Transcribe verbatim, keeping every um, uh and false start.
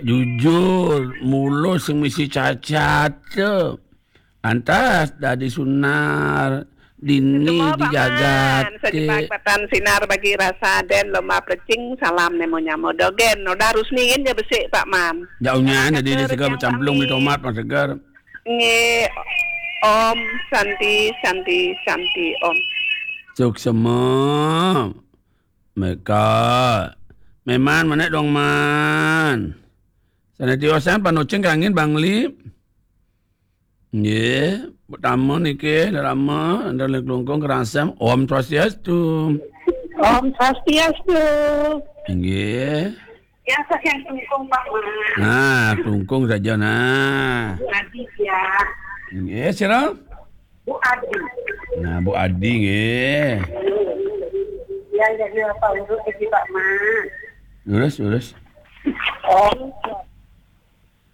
Jujur, mula sing misi cacat tu. Antas dadi sunar, dini dijagat. Sejepak patan sinar bagi rasa den lomba plecing, salam nemu nyamo dogen. Udah harus ningin je besik, Pak Man. Jauhnya jadi segar bercamplung di tomat, Mas Segar. Nggih. Om Santi, Santi, Santi, Om. Suksema. Meka. Meman, manek dong, Man. Sana tiosan, panucing kangin, Bangli. Nggih, pertama niki, lama, anda lek lungkung kerasam. Om Swastiastu. Om Swastiastu. Nggih. Yang saya tungkung, Pak Man. Nah, tungkung saja, nah. Bu Adi, ya. Nggih, sira? Bu Adi. Nah, Bu Adi, nggih. Yang jadi apa urut lagi, Pak Man? Lurus, lurus. Om